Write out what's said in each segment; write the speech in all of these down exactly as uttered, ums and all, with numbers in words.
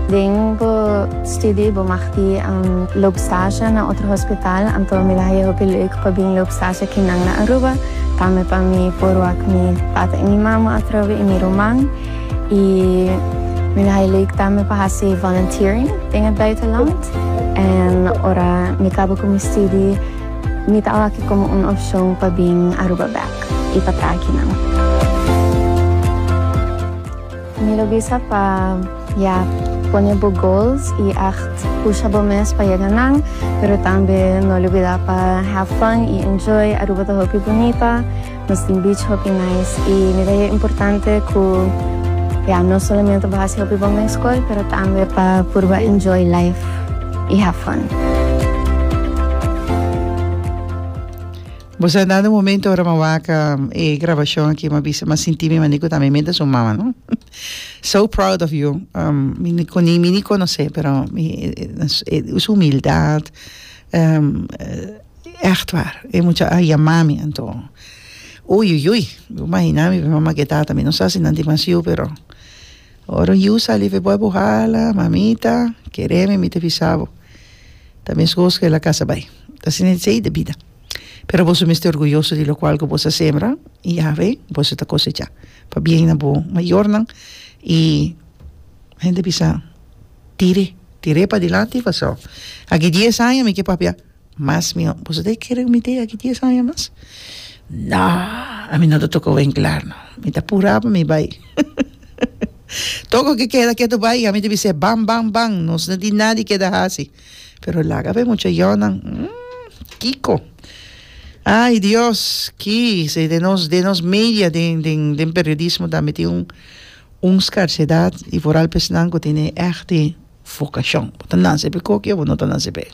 Den bo studie bo mag di um, loop stage na otro hospital, anto mi ta haya hopi leuk pa bin loop stage akinan na Aruba, tambe pa mi por wak mi tata y mi mama atrobe y mi ruman y mi ta haya leuk tambe pa haci volunteering den het buitenland en ora mi caba cu mi studie mi ta wak como un opcion pa bin Aruba bek y pa traha akinan. Mi lo bisa pa ya pone bo goals y echt pusha bo mes pa yega nan, pero tambe no lubida pa have fun y enjoy. Aruba ta hopi bunita, nos tin beach hopi nice y mi ta haya importante cu ya no solamente bo haci hopi bon den scol, pero tambe pa purba enjoy life y have fun. Bo sa dado momento ora m'a wak e grabacion aki m'a bisa m'a sinti mi mane cu ta mi menta su mama no. So proud of you. Um, mi ni mi ni conoce pero mi su humildad um, echt waar. E mucha a yama mi anto uy uy uy bo imagina mi mama ke tata mi no sa si nan tin mas yu pero ora un yu sali fe bo hala mamita keremi mi ta bisa bo ta mescos cu el a casa bay. Ta asina esey de bida. Pero boso mester orguyoso di locual cu boso a sembra y yave boso ta cosecha. Pabien na bo mayornan y hende bisa tire, tire padilanti paso aki dies aña mi ke papia mas miho. Boso ta kere cu mi te aki dies aña mas? No, ami no ta toca winklaar no. Mi ta pura pa mi bay. Toko ke keda ketu bay ami ta bis'é ban ban ban nos no tin nada di keda haci. Pero laga pa e mucha yonan mm kiko ay Dios ki si den nos den nos media den den den periodismo tambe tin un un scarsedad y vooral pa esnan cu tene echt e vocacion bo ta nace pa e koki o bo no ta nace pa e.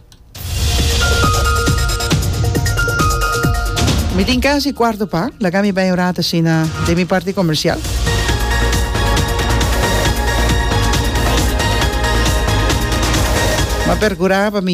Mi tin casi cuarto pa laga mi bay un rato asina den mi parti comercial. M'a percura pa mi.